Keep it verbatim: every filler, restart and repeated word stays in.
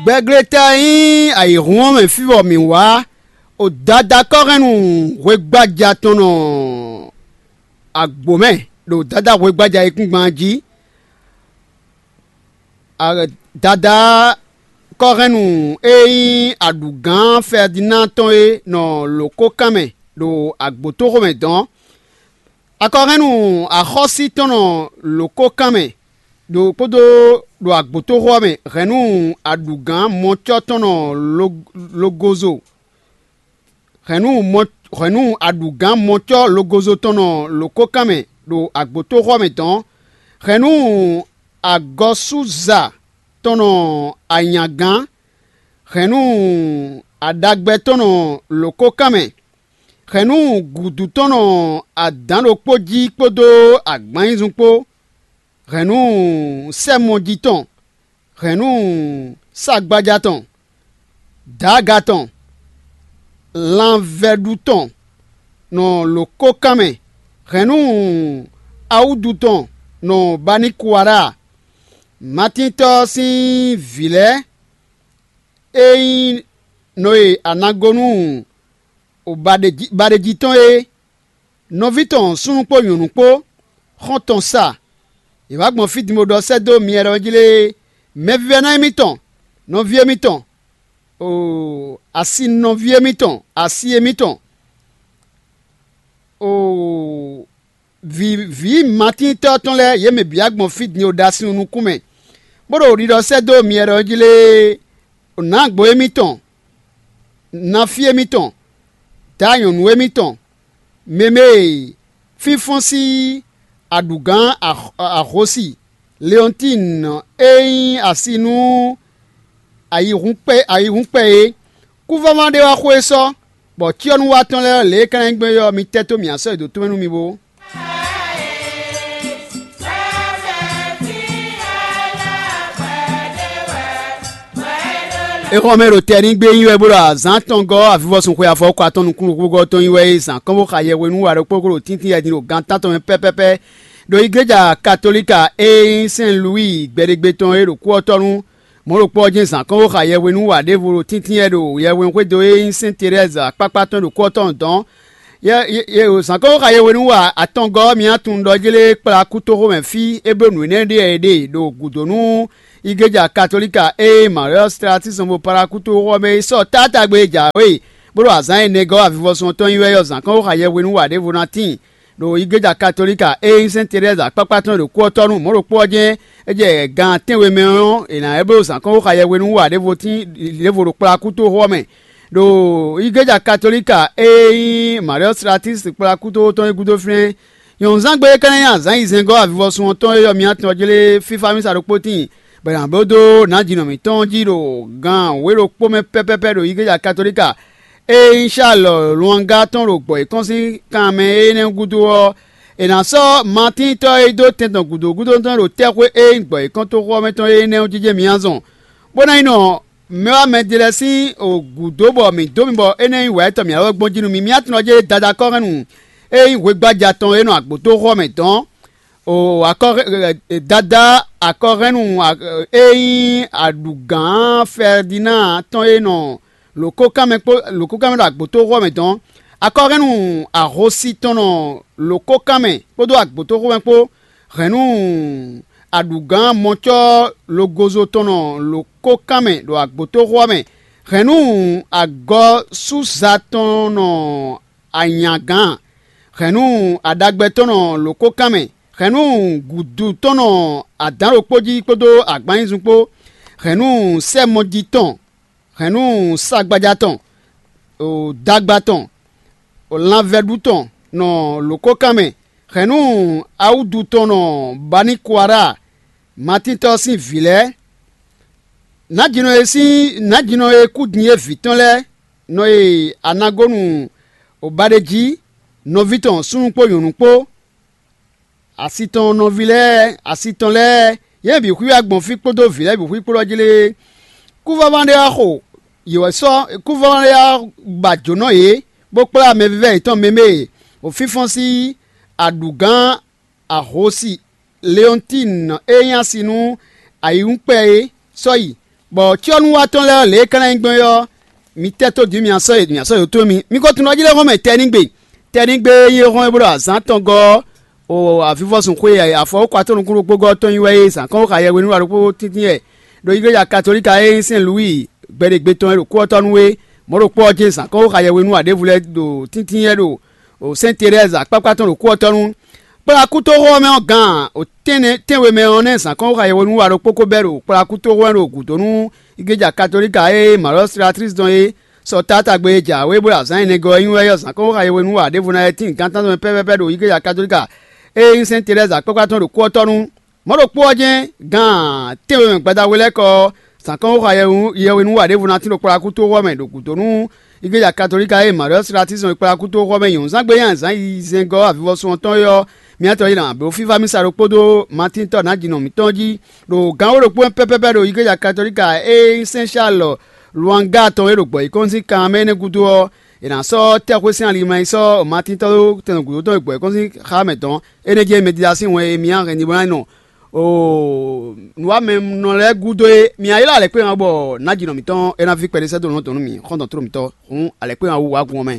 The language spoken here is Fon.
Gbɛgleta e nyí ayǐhún ɔ́ mɛ fí bɔ mǐ wá, o Dadá Kɔ́hɛnnú hwegbája tɔn nɔ agbǒ mɛ, ɖo Dadá hwegbája yíkúngban jí. Dadá Kɔ́hɛnnú e nyí aɖǔgán Fɛdinaa tɔn é nɔ lǒkókan mɛ ɖo agbǒtóxo mɛ dɔ̌n. Akɔhɛ́nnu axɔ́sí tɔn nɔ lǒkókan mɛ ɖo kpódó ɖo agbǒtóxo ɔ́ mɛ hɛ̌nnu aɖǔgán mɔcɔ́ tɔn nɔ logozo hɛ̌nnu aɖǔgán mɔcɔ́ logozo tɔn nɔ lǒkókan mɛ ɖo agbǒtóxo ɔ́ mɛ dɔ̌n. Hɛ̌nnu agɔsúza tɔn nɔ anyǎgán, hɛ̌nnu aɖagbɛ tɔn nɔ lǒkókan mɛ, hɛ̌nnu gǔdu tɔn nɔ adǎn ɖokpó jí kpódó agbǎnnyízún kpó, hɛ̌nnu sɛ́mɔjí tɔn, hɛ̌nnu sagbaja tɔn, dǎga tɔn, lanvɛ́ɖu tɔn nɔ lǒkókan mɛ, hɛ̌nnu awúdu tɔn nɔ baníkuwara, Matíntɔ́ ɔ́ sín vǐ lɛ́ɛ e nyí nɔ e a nǎ gɔ́ nú baɖejí tɔn é, nɔví tɔn súnnu kpó nyɔ̌nu kpó, xɔ́ntɔn sa, è wǎ gbɔn fí din bó ɖɔ sɛ́ dó myɛ ɖɔ jí lée, mɛvívɛ́ná émítɔn, nɔví émítɔn, asi nɔví émítɔn, asi émítɔn, vǐ vǐ Matíntɔ́ tɔn lɛ́ɛ, yě mɛ bǐ wá gbɔn fí din ɖo ɖasin nukún mɛ, bó ɖo ɖiɖɔ sɛ́ dó myɛ ɖɔ jí lée, nǎgbo émítɔn, nafí émítɔn, daanyɔ̌nu émítɔn, mɛ mɛ e fínfɔ́n sín aɖǔgán ahosi Leɔntín e nyí asi nú ayihúnkpɛ é, kúvává ɖé wá xo é sɔ́, bɔ cyɔ́núwatɔ́ lɛ́ɛ lě e é ka ná nyí gbɔn é ɔ́, mi tɛ́ tó mǐ asɔ́ e dǒ tomɛ nú mi bó. É xɔ mɛ ɖo tɛ ní gbé nyi wɛ bó ɖo azǎn tɔn gɔ́ avivɔsun xwe afɔkɔ atɔn nukúnnú xúgɔ́ tɔn nyi wɛ é zǎn kɔn bó xa yɛhwenu wa ɖokpó kó ɖo tíntín yɛ din ɖo gan tántɔn mɛ pɛ́pɛ́pɛ́ ɖo igleja katolíka e nyí Sɛn Luwíi gbɛɖegbe tɔn e ɖo kú ɔ́ tɔ́ nu. Mɔ̌ ɖokpó ɔ́ jɛ́n zǎn kɔn xó xa yɛhwenu wá ɖěvo ɖo tíntín wɛ ɖo yɛhwenuxwédo e nyí Sɛn Terɛ́zi akpákpá tɔn ɖo kú ɔ́ tɔn dɔ̌n. Zǎn kɔn xó xa yɛhwenu wá atɔngɔ́ ɔ́, mi ná tunwun ɖɔ jlé kplá kútóxó mɛ fí é bló nǔ énɛ́ ɖe wɛ è ɖe ɖo gǔdo nú igleja katolíka e Maria Stratisɔn bo Palakútóxó ɔ́ mɛ é sɔ́ tátágbe e jǎwe bó ɖo azǎn ɛnɛ gɔ́ avivɔsun ɔ́ tɔn nyi wɛ ɔ́, zǎn kɔn xó xa yɛhwenu wá ɖěvo ná tíin. Ɖo igleja katolíka e nyí Sɛn Terɛ́zi akpákpá tɔn ɖo kú ɔ́ tɔ́ nu, mɔ̌ ɖokpó ɔ́ jɛ́n é jɛ gan tɛ́nwe mɛ ɔ́, è nǎ é bló zǎn kɔn xó xa yɛhwenu wá ɖěvo tín ɖěvo ɖo kplakútóxó ɔ́ mɛ. Ɖo igleja katolíka e nyí Maria Stratis kplakútóxó tɔn é gúdo flɛ́n. Nyɔ̌nuzángbe é ka ná nyí azǎn yizɛ́ngɔ́ avivɔsun ɔ́ tɔn e yɔ mǐ atɔn ɔ́ jlé fífá mísa ɖokpó tíin, bɔ è nǎ bló dó nǎjínɔ mǐtɔn jí ɖo gan wǒ ɖokpó mɛ pɛ́pɛ́pɛ́ ɖo igleja katolíka e nyí Salɔ Luanga tɔn ɖo gbɔ yěkɔ́n sín kan mɛ énɛ́ gúdo ɔ́, è nǎ sɔ́ Matíntɔ́ e dó tɛn tɔn gǔdo gúdo tɔn ɖo tɛ́xwé e nyí gbɔ yěkɔ́n toxo ɔ́ mɛ tɔn énɛ́ ɔ́ jijɛ mǐ azɔn, bó ná nyí nɔ mɛ wá mɛ ɖé lɛ́ɛ sín gǔdo bɔ mǐ dó mi bɔ é ná nyí wǎ yětɔn mǐ alɔ gbɔn jí nú mì. Mǐ atɔn ɔ́ jɛ Dadá Kɔ́hɛnnú e nyí hwegbaja tɔn e nɔ agbǒtóxó ɔ́ mɛ dɔn. O akɔ Dadá akɔhɛ́nnu e nyí aɖǔgán Fɛdinaa tɔn e nɔ lǒkókanmɛ kpó lǒkókanmɛ ɖo agbǒtóxó ɔ́ mɛ dɔn. Akɔhɛ́nnu ahosi tɔn nɔ lǒkókanmɛ kpódó agbǒtóxó mɛ kpó hɛ̌nnu aɖǔgán mɔcɔ́ logozo tɔn nɔ lǒkókanmɛ ɖo agbǒtóxó ɔ́ mɛ, hɛ̌nnu agɔsúza tɔn nɔ anyǎgán, hɛ̌nnu aɖagbɛ tɔn nɔ lǒkókanmɛ, hɛ̌nnu gǔdu tɔn nɔ adǎn ɖokpó jí kpódó agbǎnnyízún kpó, hɛ̌nnu sɛ́mɔjí tɔn, hɛ̌nnu sagbaja tɔn, dagba tɔn, lanvɛ́ɖu tɔn nɔ lǒkókanmɛ, hɛ̌nnu awúdu tɔn nɔ baníkuara, Matíntɔ́ sín vǐ lɛ́ɛ. Nǎjínɔ e sín nǎjínɔ e kú din é vǐ tɔn lɛ́ɛ nɔ e a nǎ gɔ́ nu baɖejí, nɔví tɔn súnnu kpó nyɔ̌nu kpó, asi tɔn nɔví lɛ́ɛ, asi tɔn lɛ́ɛ, yě mɛ bǐ xwíwá gbɔn fí kpódó vǐ lɛ́ɛ bǐ xwí kplɔ́ jí lé. Kúvɔ́vɔ́ ɖé wá xo yě wɛ sɔ́ kúvɔ́vɔ́ ɖé wá ba jǒnɔ yě, bó kplá mɛvívɛ́ yětɔn mɛ mɛ e wǒ fínfɔ́n sín aɖǔgán ahosi Leɔntín e nyí asi nú ayǐwúnkpɛ é sɔ́ yi. Bɔ cyɔ́núwatɔ́ lɛ́ɛ lě e é ka ná nyí gbɔn é ɔ́, mi tɛ́ tó din mì asɔ́ e mì asɔ́ yǒtɔn mì. Mi ko tunwun ɔ́ jí lɛ́ hɔn mɛ tɛnigbe. Tɛnigbe e nyí é hɔn e bló azǎn tɔn gɔ́ ɔ́, o avivɔsun xwe e afɔwúkɔ atɔ́ nukún ɖokpó gɔ́ ɔ́ tɔn nyí wɛ é zǎn kɔn xo xayɛhwenu wɛ ɖokpó tíntín wɛ ɖo igleja katolíka e nyí Sɛn Luwíi gbɛɖegbe tɔn e ɖo kú ɔ́ tɔ́ nú é. Mɔ̌ ɖokpó ɔ́ jɛ́n zǎn kɔn xo xayɛhwenu wɛ ɖěvo lɛ́ɛ ɖo tíntín wɛ ɖo Sɛn Terɛ́zi akpákpá tɔn ɖo kú ɔ́ tɔ́ nú. Kplɔ́ akútoxo ɔ́ mɛ ɔ́ gǎn, o tɛ́nwe mɛ ɔ́ nɛ́ zǎn kɔn xo xayɛhwenu wɛ ɖokpó ko bɛ́ ɖo kplɔ́ akútoxo wɛ ɖo gǔdo nú igleja katolíka e Malɔ́ Silatlísi tɔn é. Sɔ taátagbe e jǎwe bó ɖo azǎn ɛnɛ gɔ́ ɔ́ nyi wɛ yɔ́ zǎn kɔn xo xayɛhwenu wɛ ɖěvo ná lɛ́ɛ tíin gǎn tántɔn mɛ pɛ́pɛ́pɛ́ ɖo igleja katolíka e nyí Sɛn Terɛ́zi akpákpá tɔn ɖo kú ɔ́ tɔ́ nú. Mɔ̌ ɖokpó ɔ́ jɛ́n, gǎn tɛ́nwe mɛ gbadahwe lɛ́ɛ kɔ ɔ́, zǎn kɔn xo xayɛhwenu wɛ nú wɛ ɖěvo ná tín ɖo kplɔ́ akútoxo ɔ́ mɛ ɖo gǔdo nú igleja katolíka e Malɔ́ Silatlísi tɔn e kplɔ́ akútoxo ɔ́ mɛ nyɔ̌nu zán gbé nyi azǎn yizɛ́ngɔ́ avivɔsún ɔ́ tɔn é ɔ́, mǐ ná tɔ́ yi ná bló fífá mísa ɖokpódó Matín tɔ́ nǎjínɔ mǐtɔn jí ɖo gǎn wǒ ɖokpó mɛ pɛ́pɛ́pɛ́ ɖo igleja katolíka e nyí Sɛn Salɔ́ Luanga tɔn e ɖo gbɔ̌yǐkɔ́ngosín kan mɛ énɛ́ gúdo ɔ́, è nǎ sɔ́ tɛ́xwé sín ali mlá yi sɔ́ Matín tɔ́ ɖó tɛn gǔdo tɔn e gbɔ̌yǐkɔ́ngosín xá mɛ dɔn. Énɛ́ jɛ́n mɛdídásín wɛn e mǐ hɛn din bó ná nɔ nǔwamɛnɔ lɛ́ɛ gúdo é. Mǐ ná ylɔ́ alɛkpéhan bɔ nǎjínɔ mǐtɔn é ná ví kpɛɖé sɛ́ dó nǔ tɔn nú mǐ, xɔ́ntɔn tló mǐtɔn, hǔn alɛkpéhan wú wǎ gun ɔ́ mɛ.